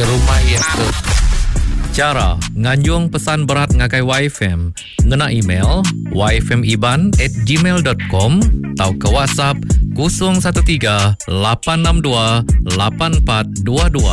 Rumah iya tu. Chara nganjung pesan berat ngagai YFM ngena email yfmiban@gmail.com tauka WhatsApp 013 862 8422.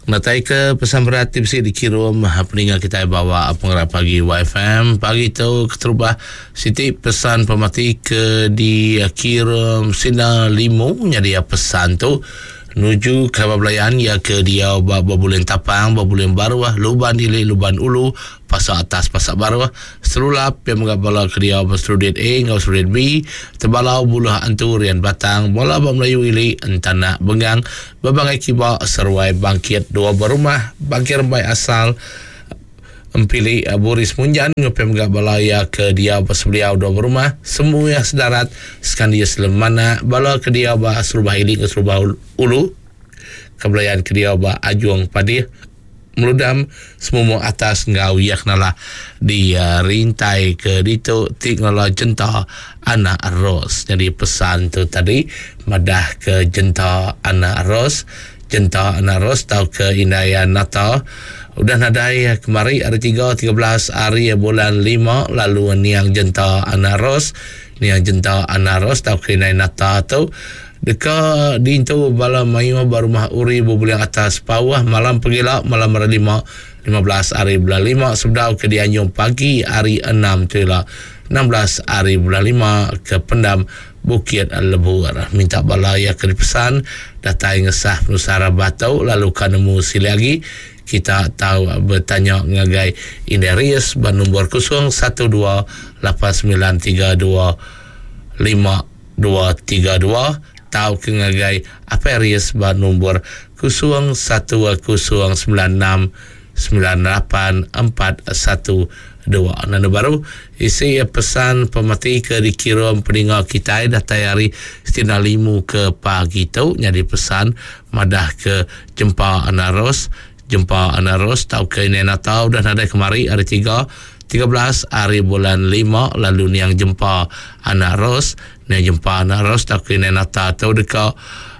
Ngenatai ke pesan berat ti bisi dikirum peninga kitai bawa pengarap pagi YFM. Pagi tu keterubah siti pesan pemati ke dikirum Sina Limu nyadi pesan tu nuju kaban belayan iya ke diau ba Bebuling Tapang, Bebuling Baruh, Luban Ili, Luban Ulu, Pasar Atas, Pasar Baruh, Serulap, pia mega bala ke diau ba Serudit A enggau Serudit B, Tebalau, Buluh Antu, Rian Batang, bala ba Melayu Ili, Entanak, Bengang, Bebangai Kiba, Seruai Bangkit, Dua Berumah, Bangkit Rembai Asal, Empili, Boris Munjan enggau pia mega bala iya ke diau ba Sebeliau Dua Berumah, Semuih Sedarat, Sekandis Lemanak, bala ke diau ba Serubah Ili enggau Serubah Ulu, ke belayan ke diau ba Ajung Padih, Meludam, Semumuk Atas enggau iya kenalah di rintai ke ditu ti ngelala Jenta Anak Ros. Nyadi pesan tu tadi madah ke Jenta Anak Ros, Jenta Anak Ros tauka indai Nata udah nadai kemari hari tiga 13 hari bulan lima lalu niang Jenta Anak Ros, niang Jenta Anak Ros tauka indai Nata tu Deka diintu bala mayuh ba Rumah Uri Bebuling Atas Pauh malam pegila malam hari lima, 15 ari bulan lima sebedau ke dianjung pagi hari enam tu ila, 16 ari bulan lima ke pendam Bukit Lebur. Minta bala iya ke dipesan datai ngesah penusah rabat tu lalu ka nemu silik agi kita tau betanya ngagai Indai Ries ba nombor 012 89 32 5 232 tauka ngagai Apai Ries ba nombor 0109 69 8412. Nanda baru isi pesan pemati ke dikirum peninga kitai datai ari Stina Limu ke pagi tu nyadi pesan madah ke Jempa Anaros Jempa Anaros tauka Indai Nata udah nadai kemari hari tiga, 13 ari bulan lima lalu niang Jempa Anak Ros. Niang Jempa Anak Ros tauka Indai Nata tu deka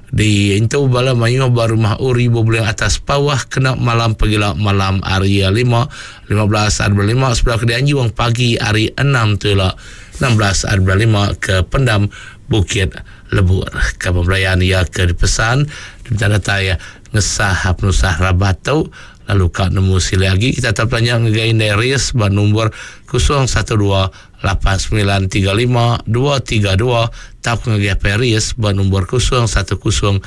diintu bala mayuh ba rumah Uri Bebuling Atas Pauh kena malam pegila malam hari lima, 15 ari bulan lima sebedau ke dianjung pagi hari enam tu ila, 16 ari bulan lima ke Pendam Bukit Lebur. Kaban belayan iya ke dipesan diminta datai Ngesah penusah rabat tu lalu ka nemu silik agi kita tau betanya ngagai Indai Ris ba nombor 012 8935 232 tauka ngagai Apai Ris ba nombor 010 96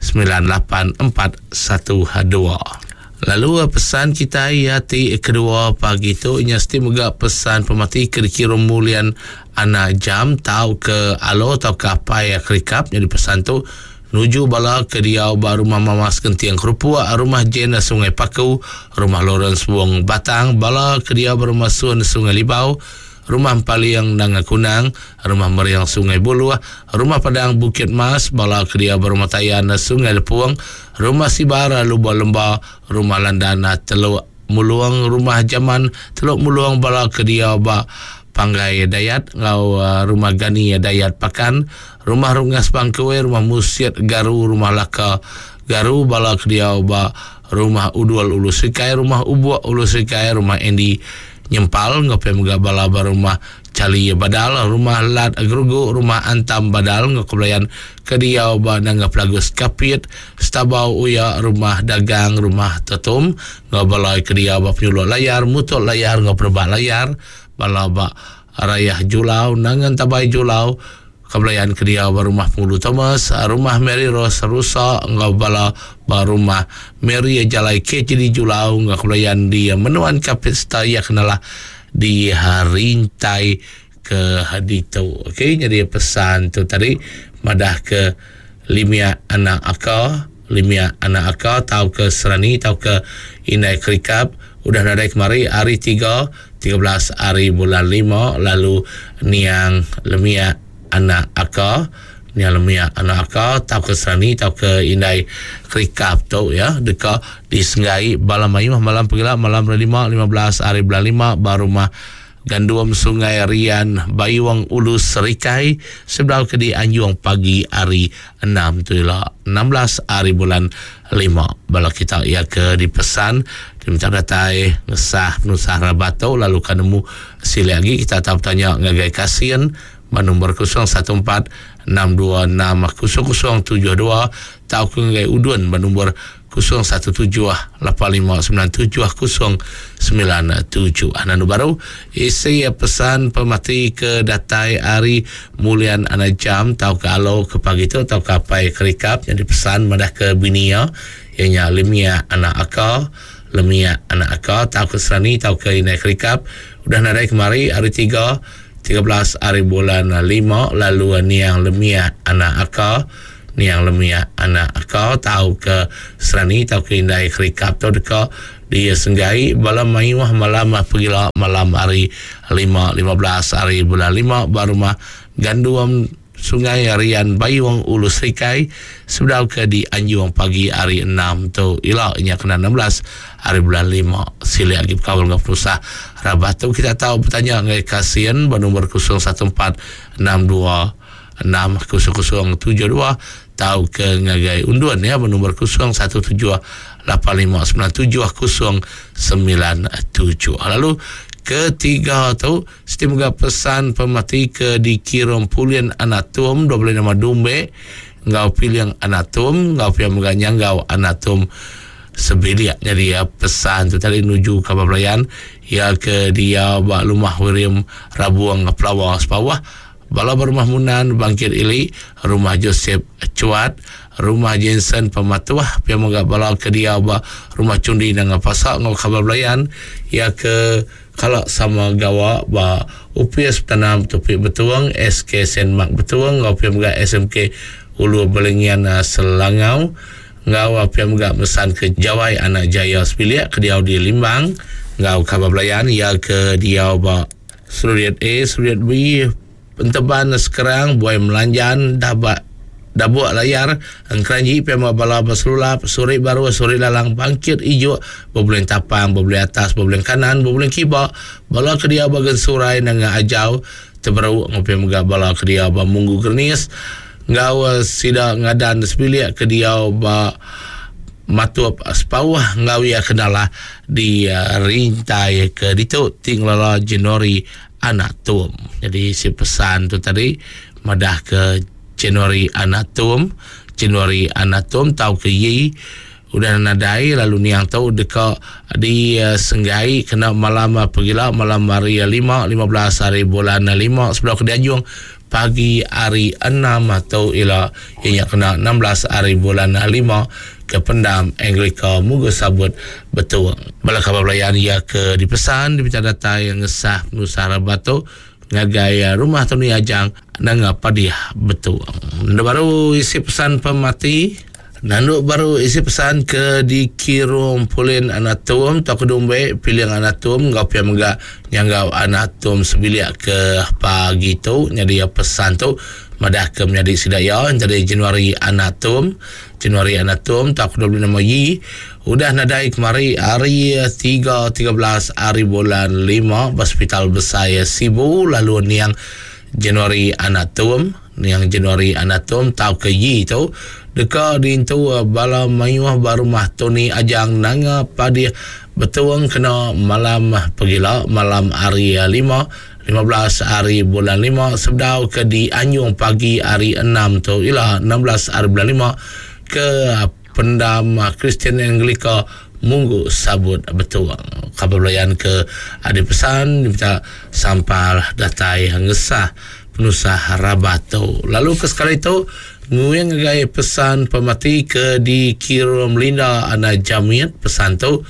98 412. Lalu pesan kitai iya ti kedua pagi tu nya siti mega pesan pemati ke dikirum Mulian Anak Jam tauka Alo tauka Apai Kerikap nyadi pesan tu Nuju bala ke diau ba Rumah Mamas Genting Kerupuk, Rumah Jane Sungai Paku, Rumah Lawrence Wong Batang, bala ke diau ba Rumah Sun Sungai Libau, Rumah Empaling Nanga Kunang, Rumah Mering Sungai Buluh, Rumah Padang Bukit Mas, bala ke diau ba Rumah Tayan Sungai Lepung, Rumah Sibar Lubok Lemba, Rumah Landan Teluk Mulung, Rumah Jaman Teluk Mulung, bala ke diau ba Panggai Dayat enggau Rumah Gani Dayat Pakan, Rumah Rungas Bangkui, Rumah Musit Garu, Rumah Laka Garu, bala ke diau ba Rumah Udul Ulu Serikai, Rumah Ubuk Ulu Serikai, Rumah Andy Nyempal enggau pia mega bala ba Rumah Chali Badal, Rumah Lat Gerugu, Rumah Antam Badal enggau Kebelayan ke diau ba Nanga Pelagus Kapit, Stabau Uya, Rumah Dagang, Rumah Tetum enggau bala ke diau ba Penyuluk Layar, Mutuk Layar enggau Penebak Layar, bala ba Rayah Julau, Nanga Entabai Julau, Kebelayan ke diau ba Rumah Penghulu Thomas, Rumah Mary Rose Rusa enggau bala ba Rumah Mary Jalai KTD Julau enggau Kebelayan di Menuan Kapit sereta iya ke nalah di rintai ke ditu. Okey nyadi pesan tu tadi madah ke Limia anak aka, Limia anak aka tauka Serani tauka Indai Kerikap udah nadai kemari hari tiga 13 ari bulan lima lalu niang Lemiak anak aka niang Lemiak anak aka tauka Serani tauka Indai Kerikap tu ya deka disenggai bala mayuh malam pegila malam hari lima 15 ari bulan lima ba rumah. Gandum Sungai Rian Bayung Ulu Serikai sebedau ke dianjung pagi hari enam tu ila 16 hari bulan lima. Bala kita iya ke dipesan diminta datai ngesah penusah rabat tu lalu ka nemu silik agi kita tau betanya ngagai Kasin ba nombor 014 626 0072 tauka ngagai Udun ba nombor 017 8597 097. Anu baru isi pesan pemati ke datai ari Mulian Anak Jam tauka alo ke pagi tu tauka apai kerikap jadi pesan madah ke bini iya iya nya Lemia Anak Aka Lemia Anak Aka tauka Serani tauka Indai Kerikap udah nadai kemari hari tiga 13 hari bulan lima lalu niang Lemia Anak Aka Niang Lemiak anak aka tauka Serani tauka indai kerikap tu deka disenggai bala mayuh malam pegila malam hari lima 15 hari bulan lima ba rumah Gandum Sungai Rian Bayung Ulu Serikai sebedau ke dianjung pagi hari enam tu ila nya kena 16 hari bulan lima. Silik agi bekaul enggau penusah rabat tu kita tau betanya ngagai Kasin ba nombor 014 62 60072 tauka ngagai Undun ya benombor 017 8597 097. Lalu ketiga tu siti mega pesan pemati ke dikirum Pulin Anatum 25 nama Dumbe enggau Piling Anatum enggau pia mega Nyanggau Anatum sebilik. Jadi ya, pesan tu tadi nuju kaban belayan ya ke dia ba Lumah Wirim Rabuang Pelawa Sepawah Bala ba Rumah Munan, Bangkit Ili, Rumah Joseph Chuat, Rumah Jensen Pematuh, pia mega bala ke diau ba Rumah Chundi Nanga Pasa enggau kaban belayan iya ke kala sama gawa ba Opis Betanam Tupi Betong, SK Saint Mark Betong enggau pia mega SMK Ulu Balingian Selangau enggau pia mega mesan ke Jawai Anak Jaya sebilik ke diau di Limbang enggau kaban belayan iya ke diau ba Seriat A, Seriat B, Enteban Sekerang, Buai Melanjan, Dabak Dabuk Layar, Engkeranji, Pia Bala Beselulap, Suri Baru, Suri Lalang, Bangkit Ijuk, Bebuling Tapang, Bebuling Atas, Bebuling Kanan, Bebuling Kiba, Bala ke diau ba Gensurai Nanga Ajau, Teberu, enggau pia mega bala ke diau ba Munggu Gernis, enggau sida ngadan sebilik ke diau ba Matup Sepauh enggau iya ke nalah di rintai ke ditu ti ngelala Januari anak Tum. Jadi si pesan tu tadi madah ke Januari anak Tum, Januari anak Tum tau ke yi udah nadai lalu niang tu deka disenggai kena malam pegila malam hari 5 15 hari bulan 5 sebedau ke dianjung pagi hari enam tu ila iya nya kena 16 hari bulan lima ke pendam Anglika Mugu Sabut Betung. Bala kaban belayan iya ke dipesan dipinta datai ngesah penusah rabat tu ngagai rumah Tony Ajang Nanga Padih Betung. Enda baru isi pesan pemati. Nandu baru isi pesan ke dikirum Pulin Anatum tauka Dumbe Piling Anatum enggau pia mega nyanggau Anatum sebilik ke pagi tu nyadi pesan tu madah ke menyadi sida iya entadi Januari Anatum Januari Anatum tauka dulu nama Yi udah nadai kemari hari 3 13 hari bulan 5 ba Hospital Besai Sibu lalu niang Januari Anatum Niang Januari Anatum tauka Yi tu deka diintu bala mayuh ba rumah Tony Ajang Nanga Padih Betong kena malam pegila malam hari lima 15 hari bulan lima sebedau ke dianjung pagi hari enam tu ila 16 hari bulan lima ke Pendam Kristian Anglika Munggu Sabut Betong. Kaban belayan ke adi pesan diminta sampal datai ngesah penusah rabat tu. Lalu ke sekali tu nguing ngagai pesan pemati ke dikirum Linda Ana Jamit pesan tu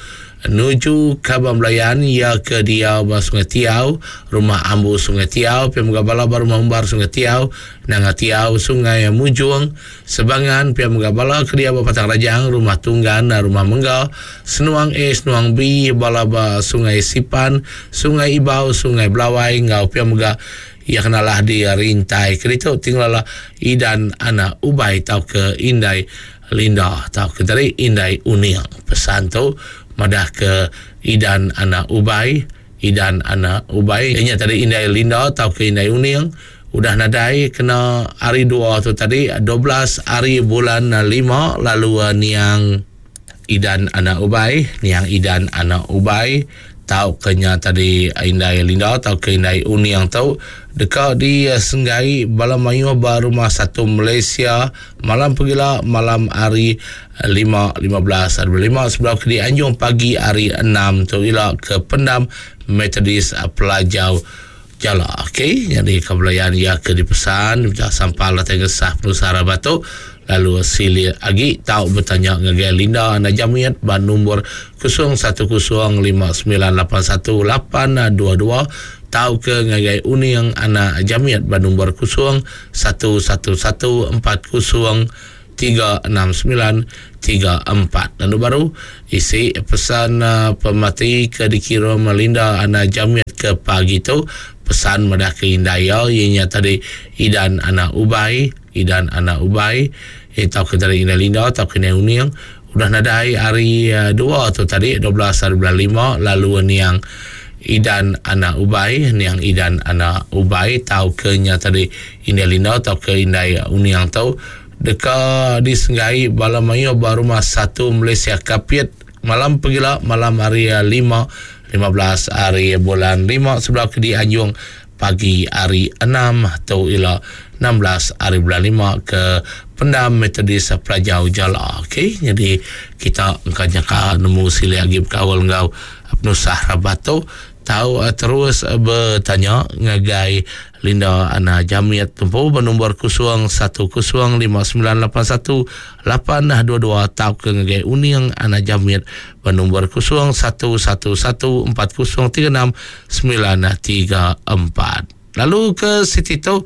nuju kaban belayan iya ke diau ba Sungai Tiau, Rumah Ambu Sungai Tiau, pia mega bala ba Rumah Umbar Sungai Tiau, Nanga Tiau, Sungai Mujung, Sebangan, pia mega bala ke diau ba Batang Rajang, Rumah Tunggan, Rumah Mengga, Senuang A, Senuang B, bala ba Sungai Sipan, Sungai Ibau, Sungai Belawai enggau pia mega iya ke nalah di Rintai ke ditu ti ngelala Idan anak Ubai tauka Indai Linda tauka tadi Indai Uning. Pesan tu madah ke Idan anak Ubai. Idan anak Ubai nya tadi indai Linda tauka indai Uning udah nadai kena hari dua tu tadi 12 hari bulan lima lalu niang Idan anak Ubai niang Idan anak Ubai tauka nya tadi indai Linda tauka indai Uning tu deka disenggai bala mayuh ba Rumah Satu Malaysia malam pegila malam hari 5, 15 hari bulan 5 sebedau ke dianjung pagi hari 6 tu ila ke Pendam Methodist Pelajau Jala. Okey, jadi kebelayan ia ke dipesan minta sampal datai ngesah penusah rabat tu lalu silik agi tau betanya ngagai Linda Anak Jamit ba nombor 0105981822 tau ke ngagai Uning Anak Jamit ba nombor 011140 36934. Lalu baru isi pesan pemati ke dikirum Linda Anak Jamit ke pagi tu pesan madah ke indai iya iya nya tadi Idan Anak Ubai Idan Anak Ubai eh tauka tadi indai Linda tauka indai Uning udah nadai hari dua tu tadi 12 hari bulan lima lalu niang Idan Anak Ubai niang Idan Anak Ubai tauka nya tadi indai Linda tauka indai Uning tu deka disenggai bala mayuh ba Rumah Satu Malaysia Kapit malam pegila malam hari lima, 15 hari bulan lima sebedau ke dianjung pagi hari enam tu ila 16 hari bulan lima ke Pendam Methodist Pelajau Jala. Okey, jadi kita engka nyaka nemu silik agi bekaul enggau penusah rabat tu tau terus betanya ngagai Linda Ana Jamit tempu ba nombor 0105981822 tauka ngagai Uning Ana Jamit ba nombor 0111403694. Lalu ke siti tu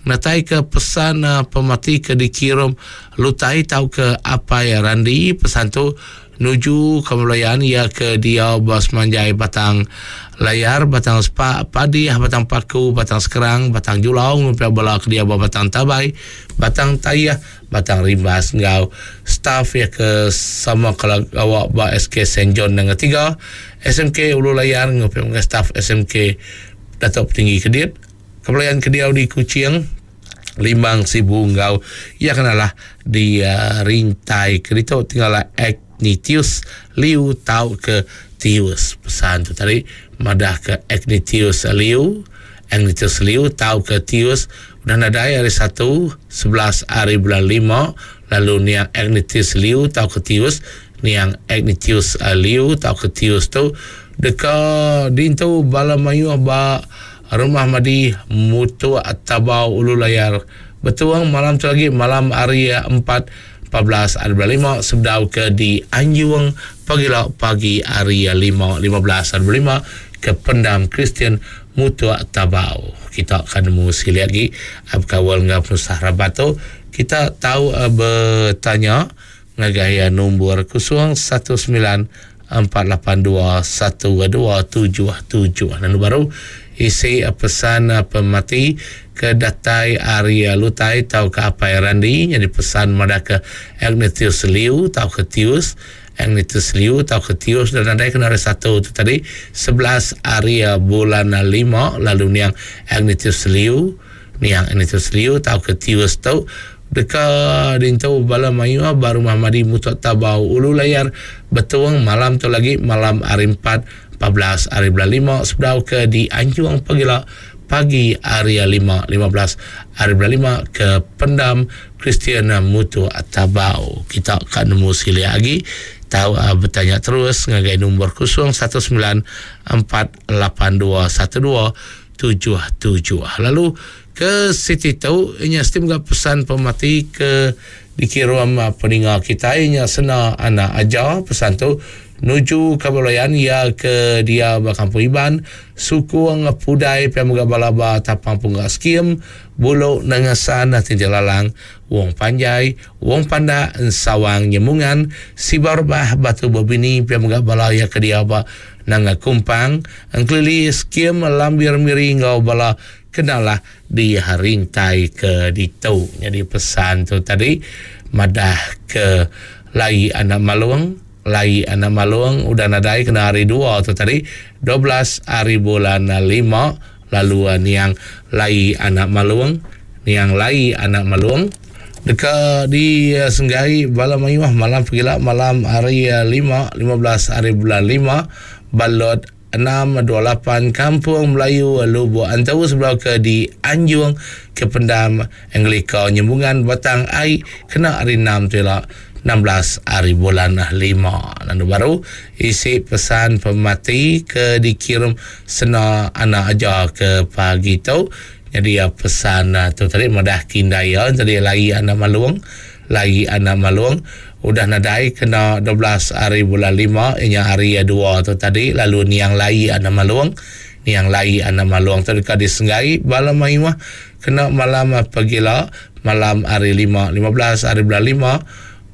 natai ke pesan pemati ke dikirum Lutai tauka Apai Randi pesan tu nuju Kemelayan iya ke diau ba semanjai Batang Layar, Batang Sepak, Padih, Batang Paku, Batang Sekerang, Batang Julau ngumpi bala ke diau ba Batang Tabai, Batang Tayah, Batang Rimbas enggau staf iya ke sama kala gawa ba SK Saint John Nanga Tiga, SMK Ulu Layar ngumpi mega staf SMK Datuk Petinggi Kedit, Kemelayan ke diau di Kuching, Limbang Sibu enggau iya ke nalah di rintai ke ditu tinggal Agnitius Liu tau ke Tius. Pesan tu tadi madah ke Agnitius Liu, Agnitius Liu tau ke Tius udah nadai hari satu 11 hari bulan lima lalu niang Agnitius Liu tau ke Tius niang Agnitius Liu tau ke Tius tu deka dintu bala mayuh ba Rumah Madi Mutuk Tabau Ulu Layar Betuang malam tu lagi malam hari empat 14 hari bulan lima sebedau ke di Anjung pagila pagi hari lima 15 hari bulan lima ke Pendam Kristian Mutuk Tabau. Kita akan nemu sekali lagi bekaul enggau penusah rabat tu. Kita tau betanya ngagai nombor 019 482 1277. Lalu baru isi pesan pemati ke datai ari Lutai tauka Apai Randi nyadi pesan madah ke Agnetius Liu tauka Tius Agnetius Liu tauka Tius dan nadai kena hari satu tu tadi 11 hari bulan 5 lalu niang Agnetius Liu Niang Agnetius Liu tauka Tius tu deka dintu bala mayuh ba Rumah Madi Mutok Tabau Ulu Layar Betong malam tu lagi malam hari empat 14 hari bulan lima sebedau ke dianjung pagila pagi hari lima 15 hari bulan lima ke Pendam Kristian Mutok Tabau. Kita ka nemu silik agi tau betanya terus ngagai nombor 019 482 12 77. Lalu ke siti tu inya siti mega pesan pemati ke dikirum peninga kitai inya sena anak aja pesan tu nuju ke belayan iya ke dia ba Kampung Iban sukung pudai pia mega bala ba Tapang Pungga Skim Bulu Nengesan Tinting Lalang Wong Panjai Wong Pandak Ensawang Nyemungan Sibau Rebah Batu Bebini pia mega bala iya ke dia ba Nanga Kumpang, Engkelili Skim Lambir Miri enggau bala kenalah di rintai ke ditu. Nyadi pesan tu tadi madah ke lai anak malung. Lai anak Malong udah nadai kena hari dua tu tadi 12 hari bulan lima lalu niang Lai anak Malong niang Lai anak Malong deka di senggai bala mayuh malam pegila malam hari lima 15 hari bulan lima ba lot 628 Kampung Melayu Lubok Antu sebedau ke di Anjung ke Pendam Anglika Nyembungan Batang Ai kena hari enam tu ila 16 hari bulan lima. Lalu baru isi pesan pemati ke dikirim sena anak aja ke pagi tu. Jadi pesan tu tadi madah kindai iya tadi lai anak malung lai anak malung udah nadai kena 12 hari bulan lima inya hari dua tu tadi lalu niang lai anak malung niang lai anak malung tu deka disenggai bala mayuh kena malam pegila malam hari lima 15 hari bulan lima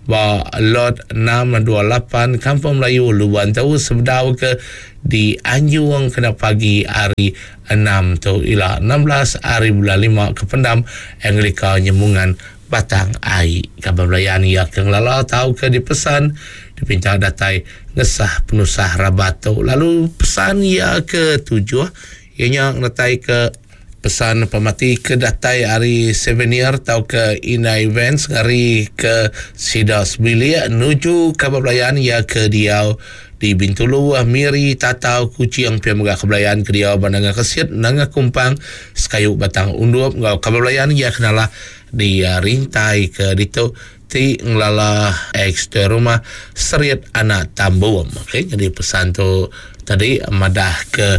ba lot 628 Kampung Melayu Luban tu sebedau ke di Anjung kena pagi hari enam tu ila 16 hari bulan lima ke pendam Anglika Nyemungan Batang Ai. Kaban belayan iya ke ngelala tauka dipesan dipinta datai ngesah penusah rabat tu. Lalu pesan iya ke tujuh iya nya ngeretai ke pesan pemati ke datai ari souvenir tauka Ina Events ngari ke sida sebilik nuju kaban belayan iya ke diau di Bintulu, Miri, Tatau, Kuching pia mega ke belayan ke diau ba Nanga Kesit, Nanga Kumpang, Sekayu Batang Undup enggau kaban belayan iya ke nalah di rintai ke ditu ti ngelala ex tuai rumah Serit Anak Tambum. Okey, jadi pesan tu tadi madah ke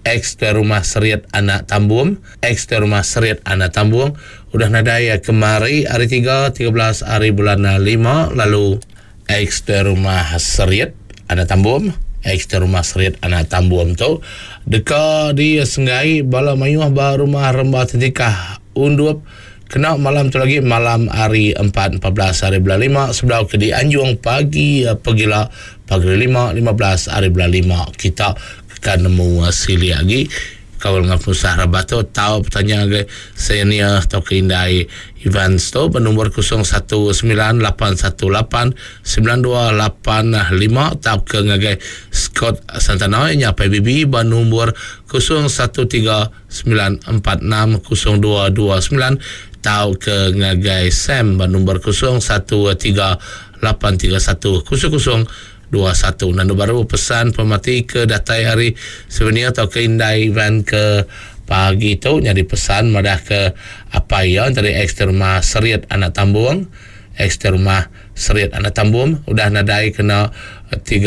ex tuai rumah Serit Anak Tambum, ex tuai rumah Serit Anak Tambung udah nadai kemari hari tiga, 13 hari bulan lima lalu ex tuai rumah Serit Anak Tambum, ex tuai rumah Serit Anak Tambum tu deka disenggai bala mayuh ba rumah Remba Tentikah Undup kena malam tu lagi malam hari empat 14 hari bulan lima sebedau ke dianjung pagi pegila pagi lima 15 hari bulan lima. Kita ka nemu silik agi kaul enggau penusah rabat tu tau betanya ngagai senior tauka indai Evans tu ba nombor 0198189285 tauka ngagai Scott Santana nya PBB ba nombor 0139460229 tauka ngagai Sam ba nombor 01383100 21. Nandu baru pesan pemati ke datai ari souvenir tauka indai Ivan ke pagi tu nyadi pesan madah ke apai iya entara ex rumah Serit Anak Tambung. Ex rumah Serit Anak Tambung udah nadai kena 13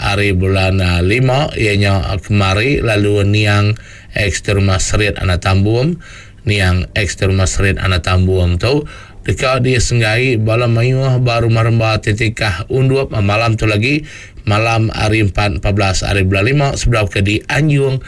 hari bulan lima iya nya kemari lalu niang ex rumah Serit Anak Tambung niang ex rumah Serit Anak Tambung tu deka disenggai bala mayuh ba rumah remba ti tikah Undup malam tu lagi malam hari empat 14 hari bulan lima sebedau ke dianjung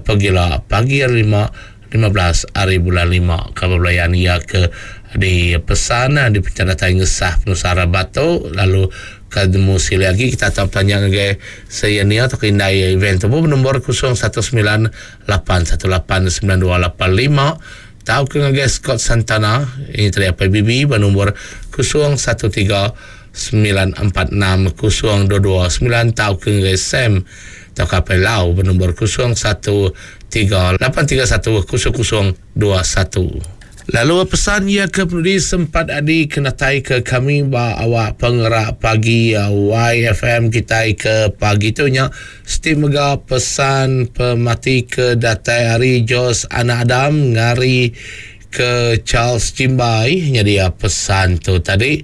pegila pagi hari lima 15 hari bulan lima. Kaban belayan iya ke dipesan dipinta datai ngesah penusah rabat tu lalu ke nemu silik agi kita tau betanya ngagai senior tauka indai event tu nombor 0198189285 tauka ngagai Scott Santana ini tadi apai BB ba nombor 0139460229 tauka ngagai Sam tauka apai Lau ba nombor 0138310021. Lalu pesan iya ke penudi sempat adi kenatai ke kami ba awak pengerak pagi YFM kitai ke pagi tu nya siti mega pesan pemati ke datai ari Jos Anak Adam ngari ke Charles Jimbai nyadi pesan tu tadi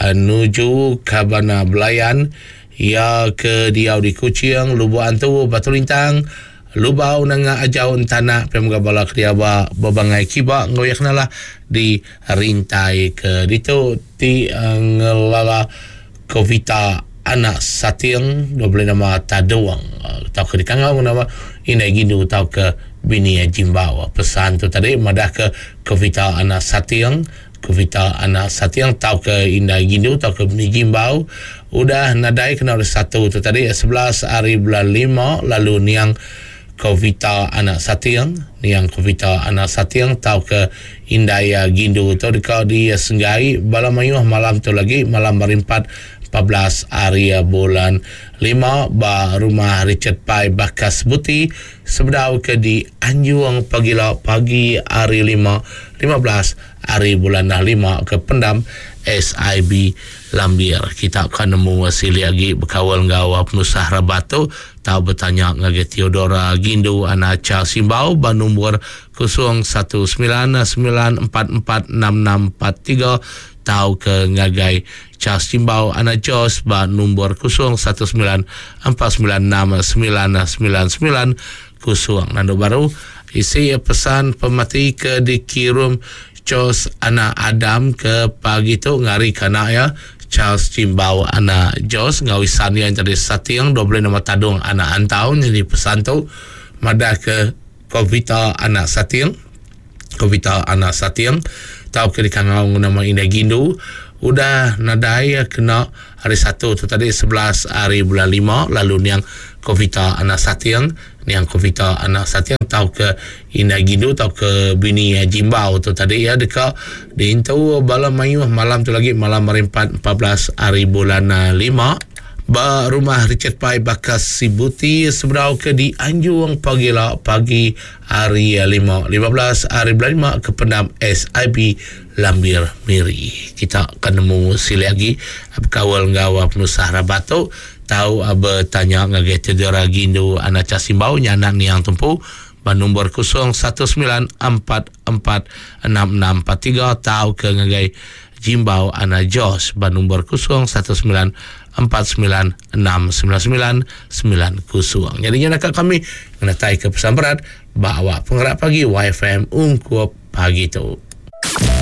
nuju kaban belayan iya ke diau di Kuching, Lubok Antu, Batu Lintang, Lubau nanga ajau entanak pia mega bala ke diau ba bebangai kiba enggau iya kenalah di rintai ke ditu ti ngelala Kovita anak Sating diberi nama Tadung tauka dikangau enggau nama Indai Gindu tauka bini Jimbau. Pesan tu tadi madah ke Kovita anak Sating Kovita anak Sating tauka Indai Gindu tauka bini Jimbau udah nadai kena hari Satu tu tadi 11 hari bulan lima lalu niang Kovita anak Sating, niang Kovita anak Sating tauka indai Gindu tu deka disenggai bala mayuh malam tu lagi malam hari empat 14 hari bulan lima ba Rumah Richard Pai Bakas Buti sebedau ke dianjung pagila pagi hari lima 15 hari bulan lima ke pendam SIB Lambir. Kita ka nemu silik agi bekaul enggau penusah rabat tu Tau betanya ngagai Theodora Gindu anak Charles Simbau ba numbur 0199446643 tauka ngagai Charles Simbau anak Jos ba numbur 0194969990. Nandu baru isi pesan pemati ke dikirum Jos anak Adam ke pagi tu ngarika anak iya Charles Jimbau anak Jos enggau isan iya nyadi Sating 25 Tadong anak Antau nyadi pesan tu madah ke Kovita anak Sating Kovita anak Sating tauka dikangau enggau nama Indai Gindu udah nadai kena hari Satu tu tadi 11 hari bulan lima lalu niang Kovita anak Sating Niang Kovita anak Sating tauka Indai Gindu tauka bini Jimbau tu tadi iya deka diintu bala mayuh malam tu lagi malam hari empat 14 hari bulan lima ba rumah Richard Pai Bakas Sibuti sebedau ke dianjung pagila pagi hari lima 15 hari bulan lima ke pendam SIB Lambir Miri. Kita akan nemu silik agi bekaul enggau penusah rabat tu. Tau betanya ngagai Theodora Gindu anak Cha Simbau nya anak niang tumpu ba nombor 0194466643 tauka ngagai Jimbau anak Jos ba nombor 0194969990. Nyadi nya naka kami ngenataika pesan berat ba awak pengerak pagi YFM ungkup pagi tu.